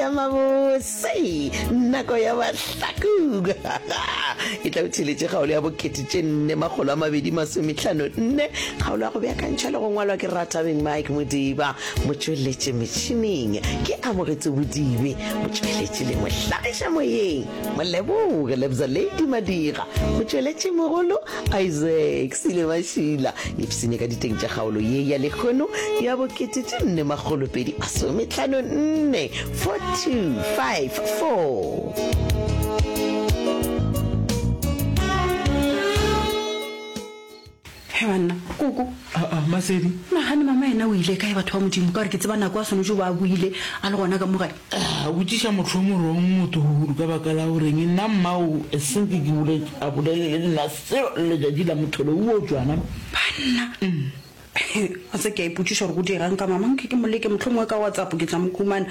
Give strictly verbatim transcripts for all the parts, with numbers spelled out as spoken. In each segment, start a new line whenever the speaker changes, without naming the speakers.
ya mabose, nako ya mahlakong. E tla o theletše kgaolo ya bokete tše nne makgolo a mabedi masomehlano nne, kgaolo ya go beakantšhwa le go ngwalwa ke Ratabeng Mike Modiba, motšweletši metšhineng ke Amogetso Bodibe, motšweletši le mohlagiša moyeng Moleboge Lebza Lady Madira, motšweletši mogolo Isaac Sile Mašila. Ipsene ka diteng tša kgaolo ye ya lehono ya bokete tše nne makgolo pedi masomehlano nne, four two five four.
He banna, koko.
Aa, Masedi.
Nagane mama yena o ile kae batho ba Modimo, ka gore ke tseba nako a swanetše go ba a boile a le gona ka mo gae.
A botšiša motho yo morong motogolo ka baka la goreng nna mmao eseng ke ke bole a bolele le nna selo letšatši la motholo wo tšwana.
Banna. A se ke a ipotšiša gore go diegang ka mama, nke ke mo leke mohlomongwe ka WhatsApp ke tla mo humana.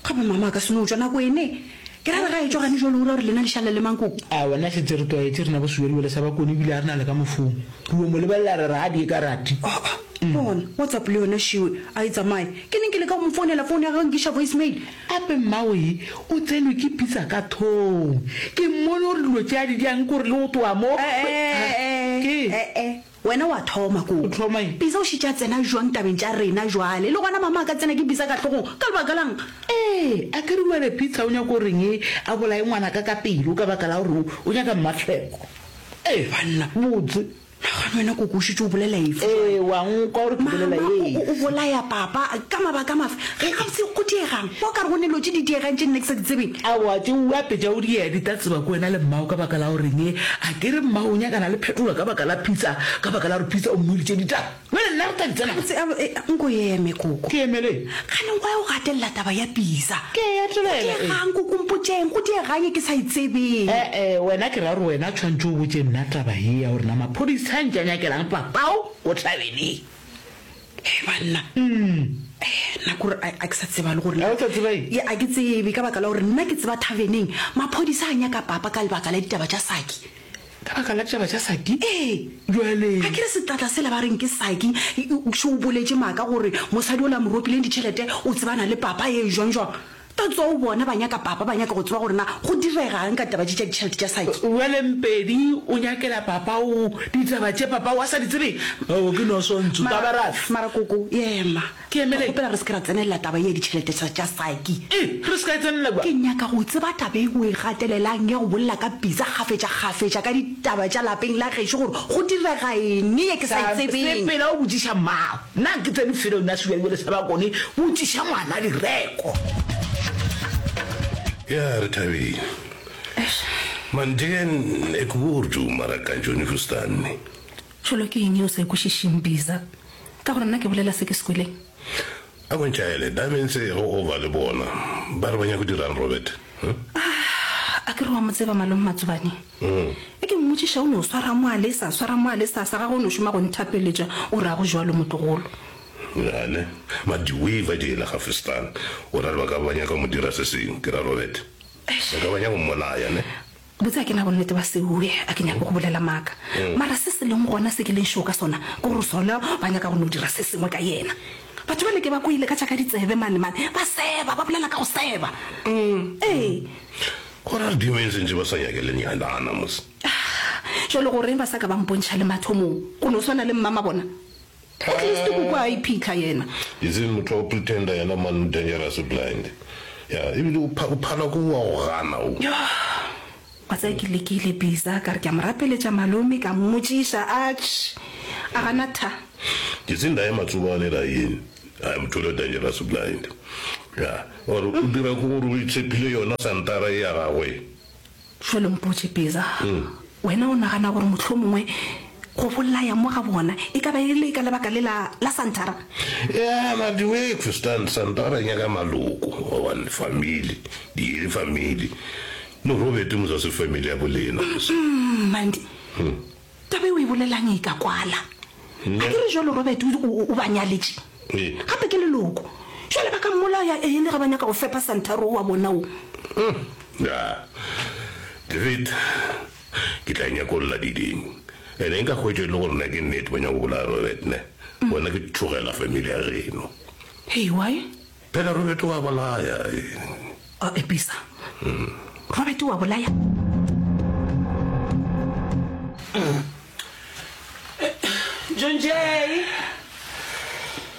Gape mama a ka se no tšwa nako ene. Ke ra re ga e tšwa gane jwale o ra gore lena le šale le mang koko?
A wena šetše re tlwaetše rena bo Sewelewele sa Bakone ebile a re na le ka mofong. Re yo mo lebelela re re a die ka rati.
Aa, bona, WhatsApp le yona šiwe a e tsamaye. Ke neng ke leka go mo founela phone ya gagwe nkiša voice mail.
Gape mmawe o tsenwe ke pitsa ka thong. Ke mmone gore dilo tše a di diang ke gore le go tloga mo.
E-e-e,
Ke?
e-e, Wena wa thoma koo.
O thoma eng?
Bisa o šetše a tsena jwang tabeng tša rena jwale? Le gona mama a ka tsena ke Bisa ka hlogong ka lebaka la'ng?
Ee, a ke re bjale Peter o nyaka go reng a bolaye ngwanaka ka pelo ka baka la gore o nyaka mmatlhweko? Ee,
Banna.
Botse.
Nagana wena koko o šetše o bolela efe jwale?
Ee, wa nkwa gore ke bolela
Mama o, o, o
efe.
bolaya papa ka mabaka mafe? Ge gabotse go diegang? Wa ka re go ne dilo tše di diegang tše nna ke sa di tsebeng?
Aowa, tše o apetša o di di tla tseba ke wena le mmago ka baka la go reng? A ke re mmago o nyakana le phetola ka baka la Peter, ka baka la gore Peter o mmoditše ditaba. Bjale nna re tla di tsena
Gabotse, a, e, nko eme, koko.
Ke emele?
Kgane why o gatelela taba ya Peter?
Ke e
Go
gatelela, ee.
diegang, koko, mpotšeng, go diegang e ke sa e tsebeng?
E-e, wena ke ra gore wena tshwantše o botše nna taba ye ya gore na maphodisa a ntše a nyakelang papao ko thabeneng.
Hei banna, eh, nna kore a, a ke sa tseba le gore
A o sa tseba eng?
Ye, a ke tsebe ka baka la gore nna ke tseba thaveneng maphodisa a nyaka papa ka lebaka la ditaba tša Saki.
Ka baka la ditaba tša Saki?
Ee.
Bjale.
A ke re setlatla sela ba reng ke Saki, šo o boletše maaka gore mosadi ola a mo ropileng ditšhelete o tsebana le papa, ee, jwang jwang. That's all bona ba nyaka papa, ba nyaka go tseba gore na go diregang ka taba tše tša ditšhelete tša Saki.
Bjale Mpedi o nyakela papa o ditaba tše papa o a sa di tsebeng? Ao ke no sontso,
Mara,
taba rafe?
mara koko, ema.
Ke emeleng?
Ke kgopela re se ke ra tsenelela taba ye ya ditšhelete tša, tša Saki.
E, re se ka e tsenelela bjang?
Ke nyaka go tseba taba e o e gatelelang ya go bolela ka pitsa kgafetša-kgafetša ka ditaba tša lapeng la gešo gore go direga eng ye ke sa e tsebeng.
Sepela o botšiša mmago. Nna ke tsene felo nna Sebjalebjale sa Bakone, botšiša ngwana direko.
Ya re thabile. Man den ek woord mara kan jo nie verstaan nie.
Tšholo ke eng ye o sa e kwešišeng, Biza? Ka gore nna ke bolela se ke se kweleng.
A ko ntšhaele, da mense go over le bona. Ba re ba nyaka go dirang Robert? Huh?
Ah, a ke re wa mo tseba malome Matsobane? E ke mmotšiša o no swara mo a lesa, swara mo a lesa, sa gagwe o no šoma go nthapeletša, o rago jwalo motlogolo?
Ja ne, maar die way wat jy hulle gaan verstaan, o ra re ba ka ba nyaka go mo dira se sengwe, ke ra Robert. Ba ka ba nyaka go mmolaya ne.
Botse a ke na bonnete ba seoe, a ke nyake go bolela maaka. Mara se se leng gona se ke leng sure ka sona ke gore Solo ba nyaka go no dira se sengwe ka yena. Batho bale ke ba kwele ka tša ka ditsebe mane mane ba seba, ba bolela ka go seba. Ee.
Go ra re demons ntše ba sa nyake le nyalana mos.
Ah, jwale goreng ba sa ka ba mpontšha le mathomong? Go no swana le mmama bona. At least koko a iphitlha yena.
Itseng motho wa go pretender yena man o dangerous o blind. Ya ebile o o phala ko wa go gana o.
Yoh wa tseba ke lekile Biza ka re ke a mo rapeletša malome ka mmotšiša atšh a gana tha.
Ke tseng dae matsobane la yeng ai motho ole o dangerous o blind. Ya or o dira ko gore o itshepile yona santara e ya gagwe.
Jwale mpotše, Peza, wena o nagana gore mohlomongwe go bolaya mo ga bona e ka ba e le ka lebaka le la, la Santara?
Ya, maar die way ek verstaan, Santara e nyaka maloko, gobane family, di ele family. No Robert mos a se family ya bolena mos.
Mm, Mandy, taba e o e bolelang e ka kwala. A ke re jwale Robert o, o, o ba nyaletše?
Ee.
Gape ke leloko. Jwale ba ka mmolaya e le ge ba nyaka go fepa Santara o wa bona wo.
Ya, David, ke tla nyakolla diding. Ene nka hwetša e le gore na ke nnete ba nyaka go bolaya Robert ne, gona ke tšhogela family ya geno.
Hei, why?
Phela Robert o a bolaya.
A episa. Robert wa bolaya.
John Jay.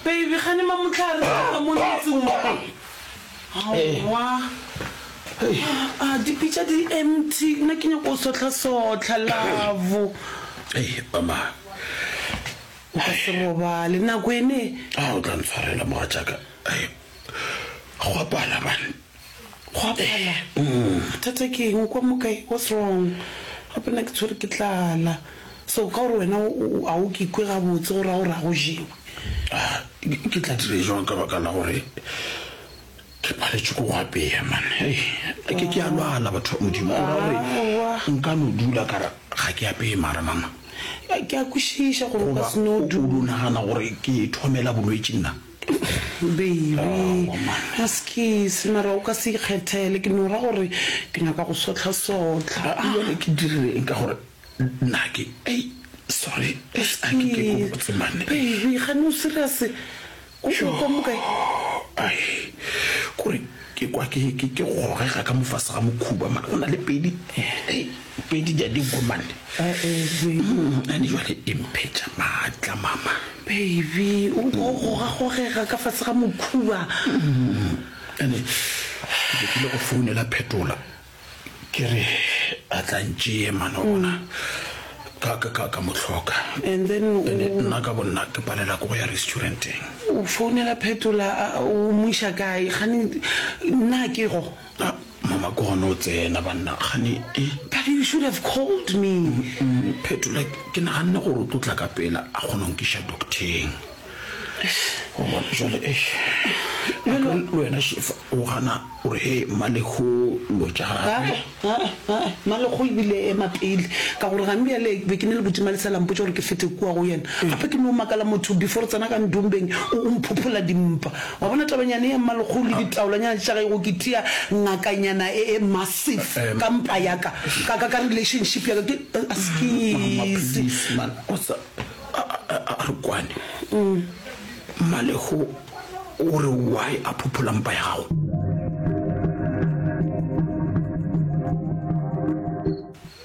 Baby, gane mamotlhare ka mo motseng mo. Aowa. Ah, dipitša di empty. Nna ke nyako go sohla-sohla, love.
Ei, mama.
O ka se robale nako ene.
A o tla ntshwarela mogatšaka. Ei, go apala man.
Go apala. Bothata ke eng? O kwa mo kae? What's wrong? Gape nna ke tshwere ke tlala. So ka gore wena o- o- a o ke ikwe gabotse gore a o ra go jewe.
Ah, ke ke tla dire jwang ka baka la gore ke paletše ko go apeya man. Ei, ke ke a lwala batho ba Modimo. O ra gore
Aowa.
nka no dula ka re ga ke apeye mara mama.
Ke a kwešiša gore o ka
Goba
se no
o o
dula.
no nagana gore ke thomela bolwetši nna.
Baby,
Aowa, man.
askis, mara o ka se ikgethele. Ke no ra gore ke nyaka go sohla-sohla.
Ah, jwale ke dirile eng ka gore nna ke ei sorry a ke ke ko botse man.
Baby, gane o serious? O o kwa mo kae?
Ai, kore ke kwa ke ke ke gogega ka mofase ga mokhuba man. Go na le pedi ei, pedi di a dinkwe man.
Eh, eh, baby.
Mm, ane jwale e mphetša maatla mama.
Baby, o kwa o gogagogega ka fase ga mokhuba.
Ane ke be ke ile go founela Phetola ke re a tla ntšee man wa bona ka ka ka ka mo hloka.
And then o-
Ene nna ka bonna ke palela ke go ya restauranteng.
o founela Phetola, a- o mo iša kae? Gane nna ke go.
Ah, mama ke gona o tsena banna gane e
But you should have called me.
Mm, Phetola ke naganne gore o tlo tla ka pela a kgona go nkiša docteng. O bona jwale eish. Le wena Shefa o gana o re he Mmalego lo tša gagwe.
Mmalego ebile ema pele ka gore gane bjale be ke ne le botima le sela mpotša gore ke fete kua go yena. Gape ke no makala motho before re tsena ka ndombeng o o mphophola dimpa. Wa bona tabanyane ya Mmalego le ditaolanyana tša gage go ke tia ngakanyana e e massive
Em.
ka mpa ya ka. Ka ka ka relationship ya ka ke
Mama,
askis.
please man o sa a a- a re kwane. Mmalego o re why a phophola mpa ya gago?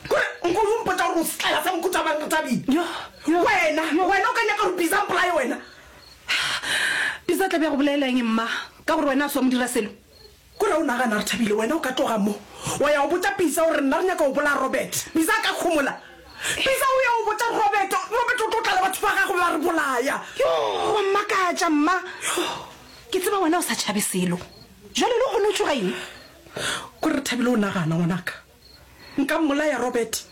Kore nko o mpotša gore o setlaela sa mokhutha mang re Thabile?
Yo, yo.
Wena, wena o ka nyaka gore Bisa a mpolaye wena?
Bisa tla be a go bolaela eng mma? Ka gore wena a se wa mo dira selo.
Kore o nagana re Thabile wena o ka tloga mo wa ya go botša Bisa gore nna re nyaka go bolaya Robert. Bisa a ka kgomola. Bisa o ya go botša Robert, Robert o tlo tla le batho ba gagwe ba re bolaya.
Yo, wa mmakatša mma. Ke tseba wena o sa tšhabe selo. Jwale le gone o tšhoga eng?
Kore re Thabile o nagana ngwanaka. Nka mmolaya Robert.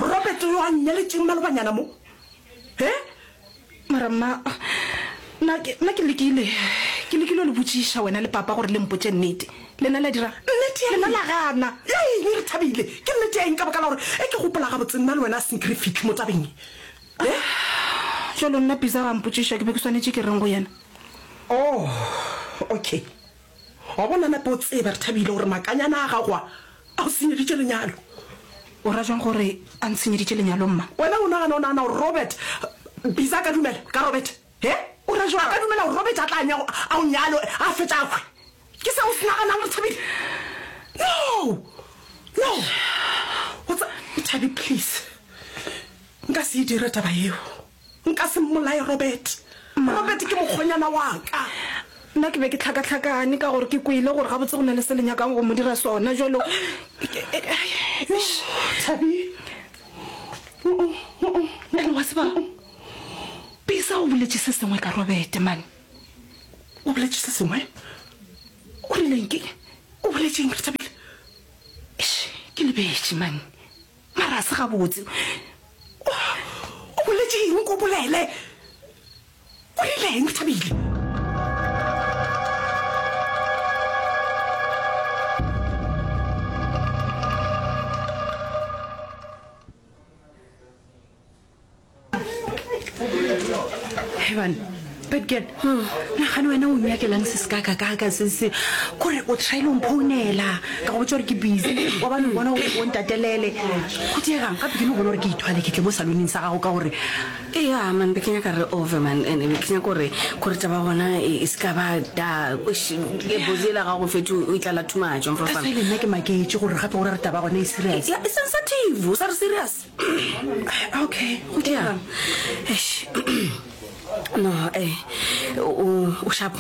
Robert yo a nnyaletšeng malobanyana mo. He?
Mara mma, nna ke nna ke lekile. Ke lekile ho le botšiša wena le papa gore le mpotše nnete. Lena la dira.
Nnete ya
Lena
eng?
la gana.
Ya eng re Thabile? Ke nnete ya eng ka baka la gore e ke gopola gabotse nna le wena a senke re fitlhe mo tabeng e. He?
Jwale nna Bisa ga mpotšiša ke be ke swanetše ke reng go yena?
Oh, okay. Wa bona nape o tseba re Thabile gore makanyana a gago a a go senyeditše lenyalo.
O ra jwang gore a ntshenyeditše lenyalo mma?
Wena o nagana o nagana gore Robert Bisa a ka dumela ka Robert? He?
O ra jwang?
A ka dumela gore Robert a tla nya a o nyalo a fetša a hwe. Ke seo o se naganang re Thabile? No. No. O tsa Thabi please. Nka se e dire taba eo. Nka se mmolaye Robert. Robert ke mokgonyana wa ka.
Nna ke be ke tlhakatlhakane ka gore ke kwele gore gabotse go na le se le nyakang go mo dira sona jwalo.
Thabi.
Ene wa tseba, Bisa o boletše se sengwe ka Robert man.
O boletše se sengwe?
O rileng ke?
O boletše eng re Thabile?
Eish, ke lebetše man. Mara a se gabotse.
O boletše eng ko bolele? O rileng re Thabile?
He bana, Bad girl, nagane wena o nyakelang se se kakakaka se se kore o tryile o mphounela ka go botša gore ke busy wa bane o bona o o ntatelele go diegang gape ke no bona gore ke ithwale ke tle mo saloneng sa gago ka gore
Ea man be ke nyaka re over man and be ke nyaka gore gore taba gona e e se ka ba da e bozi ela gago fetše o e tlala too much
that's why le nna ke maketše gore gape gore re taba gona e serious
ya e sensitive o sa re serious
okay go
ya
diegang
eish no eh o o sharp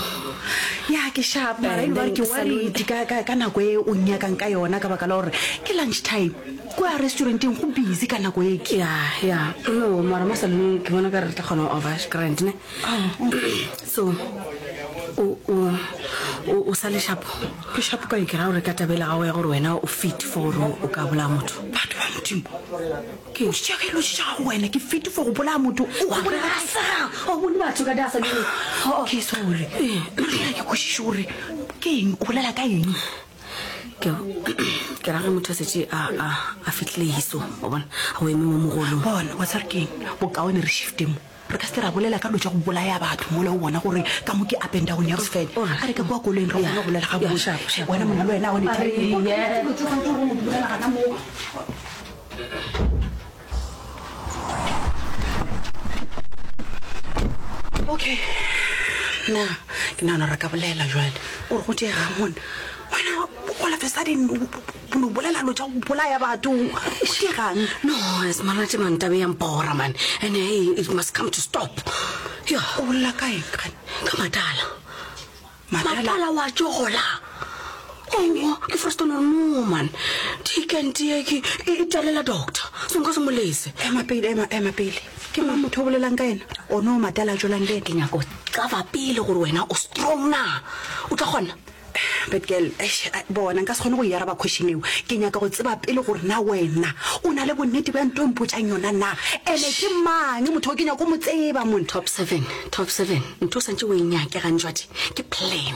ya ke sharp mara e
And
le gore
then
ke worried ka, ka, ka nako e o nyakang ka yona ka baka la gore ke lunch time kua restauranteng go busy ka nako e ke
ya ya no mara mo saloneng ke bona ka re re tla kgona go over grand ne so o o o o sa le sharp
ke sharp ka eng
ke ra gore ka tabela gago ya gore wena o fit for gore o ka bolaya motho
batho ba modimo ke tšea ka dilo tša gago wena ke fit for go bolaya motho o go bolela ka
Sa, o bone batho ka da saloneng
ke sorry mara ke kwešiše gore ke eng o bolela ka eng
ke ke ra ge motho a setse a a a fitlhile hiso o bona a o eme mo mogolong
bona wa tsare ke eng bokaone re shifte mo re ka se ra bolela ka dilo tša go bolaya batho mola o bona gore ka mo ke up and down ya go se fele a re ka kua koloing re kgone go bolela
Yeah,
gabotse
sharp, sharp.
wena monna le wena o ne
A re, yeah.
bolela gana mo okay nna ke nagana gore re ka bolela jale ore go diegang mone wena all of a sudden o no bolela lo tša go bolaya batho go diegang
no as malate man tabe ya mpora man and hey it must come to stop ya
o bolela ka eng gane
ka matala
Matala?
matala wa jola owa ke first no no man dikente ke e e talela doctor so nka se mo lese
ema pele ema ema pele ke mang motho o bolelang ka ena o ne o matala a jolang le ena
ke nyako cover pele gore wena o strong na o tla kgona
but girl eish, a- bona nka se kgone go e araba question eo ke nyaka go tseba pele gore na wena o na le bonnete bja nto e mpotsang yona na ene ke mang motho o ke nyako mo tseba mone
top seven top seven ntho o santse o e nyake gantjwadi ke plan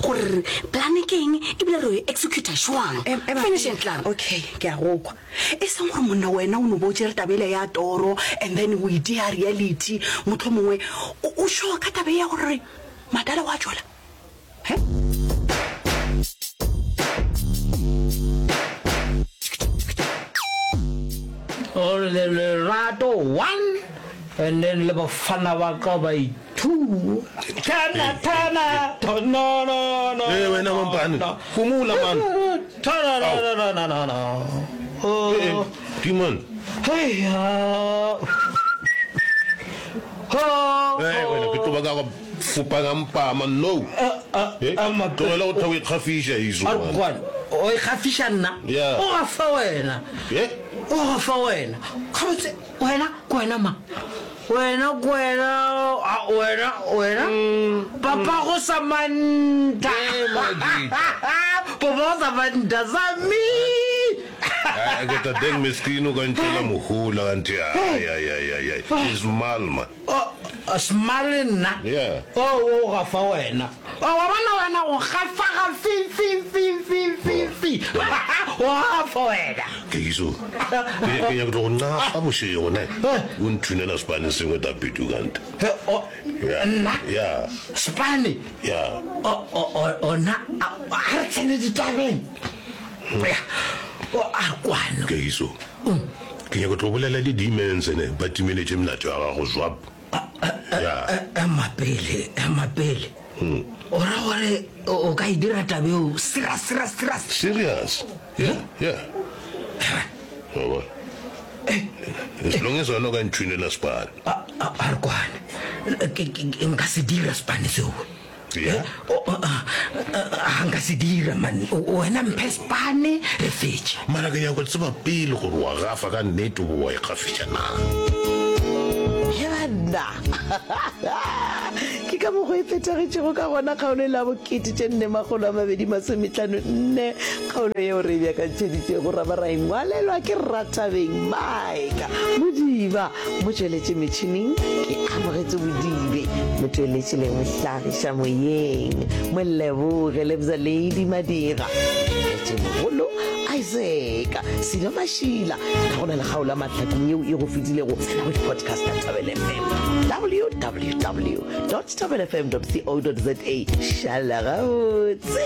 gore plan ke eng ebile re e executa jwang
Em- ema
finish
pele.
and klaar
okay ke a go kwa e seng gore monna wena o no bo o tšere tabele ya toro and then o itea reality motho mongwe o o sure ka tabe ya gore matala wa jola he
Gore le lerato one and then le bafana ba ka ba i two thana thana no no no
Eh, wena mampane phomola man
thana no no no no no
Eh, eh,
oh
Demon.
hey ah. oh
Eh, wena ke tlo ba ka go fopa ka mpama no Eh, tlogela go tha o ikgafiša iso
a re
man.
kwane o ikgafiša nna
Yeah.
o gafa wena
Eh?
o gafa wena gabotse wena ke wena ma wena ke wena a, wena wena papa go samanta
Eh, Madita.
papa go samanta sami
Ai, ke tla deng miskino ka ntšhela mohola kante ai ai ai ai ai is mal man
smale nna
Yeah.
o o gafa wena O, wa bona wena o gafa ga fi fi fi fi fi fi o gafa wena
ke iso ke ke nyaka go napa bošego ne o nthunela sepane sengwe tapetu kante
He, o-
Yeah.
nna
ya
spane
ya
O- o- o- ona a a re tsene ditabeng Ya. O, a re kwano
ke iso ke nyaka tlo bolela le demons ne ba timeletše melato ya gago zwap ya
ema pele ema pele o ra gore o o ka e dira tabeo serious serious serious
serious yeah yeah Wa bona? as long as wena o ka nthunela sepane
a a- a re kwane Ke- ke- ke- nka se dira sepane seo
Yeah.
O- o- a- a- a nka se dira man O- wena mphe sepane re fetše
mara ke nyaka go tseba pele gore wa gafa ka nnete bo wa ikgafiša na
He banna ke ka mokgwa e phethagetšego ka gona kgaolo e la bokete tše nne makgolo a mabedi masometlhano nne kgaolo yeo re e beakantšheditšego ra ba ra engwalelwa ke rathabeng maika modiba mo tšweletše metšhineng ke amogetse bodibe mo tšweletše le mohlagiša moyeng moleboge lebza lady madira tšweletše mogolo isaac Silo Mašila. Ga go na le kgaolo ya mahlakong yeo e go fetilego, tsena go di-podcast tša Thobela F M, W W W dot thobela F M dot co dot za. Šala gabotse.